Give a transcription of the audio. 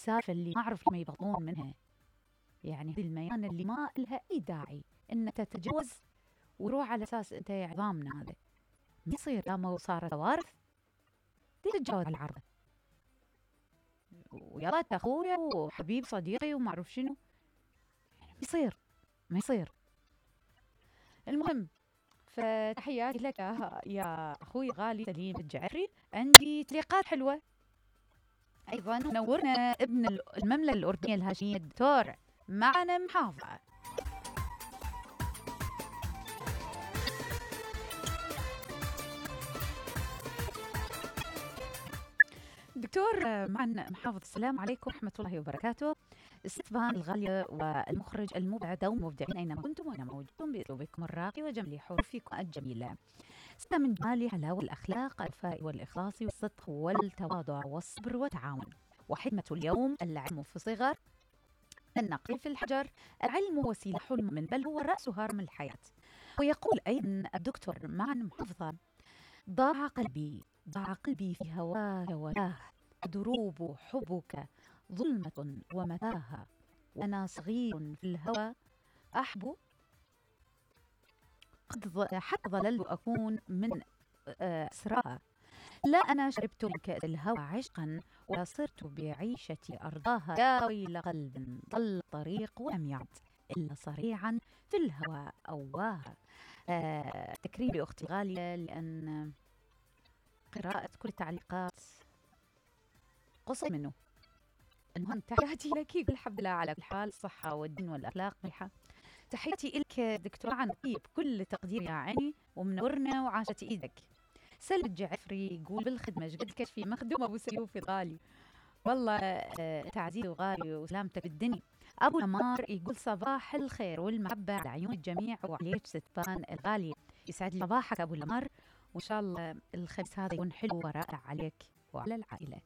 السالفة اللي ما أعرف ما يبطلون منها. يعني هذه الميانة اللي ما لها أي داعي إن تتجاوز وروح على أساس أنت عظامنا. هذا ما يصير، لما صارت كوارث تتجاوز على العرض ويلا أنت أخويا وحبيب صديقي وما أعرف شنو. ما يصير. المهم، فتحياتي لك يا أخوي غالي سليم الجعفري. عندي تعليقات حلوة أيضا. نورنا ابن المملكة الأردنية الهاشمية الدكتور معن محافظة. دكتور معن محافظ، السلام عليكم ورحمة الله وبركاته. استفان الغالية والمخرج المبدع والمبدعين أينما كنتم وأنا موجودون بأسلوبكم الراقي وجمال حروفكم الجميلة. ستا من جمال حلاوة الأخلاق، الوفاء والإخلاص والصدق والتواضع والصبر والتعاون. وحكمة اليوم العلم في الصغر، النقل في الحجر. العلم هو سلاح المؤمن، بل هو رأس هرم الحياة. ويقول أيضا الدكتور معن محافظة: ضاع قلبي في هواك ولاه، دروب حبك ظلمة ومتاهة، وأنا صغير في الهوى أحب، حتى ظللت أكون من أسراها. لا أنا شربت من كأس الهوى عشقا، وصرت بعيشتي أرضاها. يا ويل قلب ضل الطريق ولم يعد إلا صريعا في الهوى أواها. تكريم لأختي الغالية، لأن قراءة كل التعليقات قصة منه. المهم، تحياتي لك. الحمد لله على كل حال، الصحة والدين والأخلاق ملحة. تحياتي لك دكتور عن طيب كل تقدير يا عيني، ومنورنا وعاشت إيدك. سلم الجعفري يقول: بالخدمة قد كشفي مخدوم أبو سيوف الغالي. والله تعزيز وغالي وسلامتك الدنيا. أبو نمار يقول: صباح الخير والمحبة على عيون الجميع وعليك ستفان الغالية. يسعد لي صباحك أبو نمار، وإن شاء الله الخميس هذا يكون حلو ورائع عليك وعلى العائلة.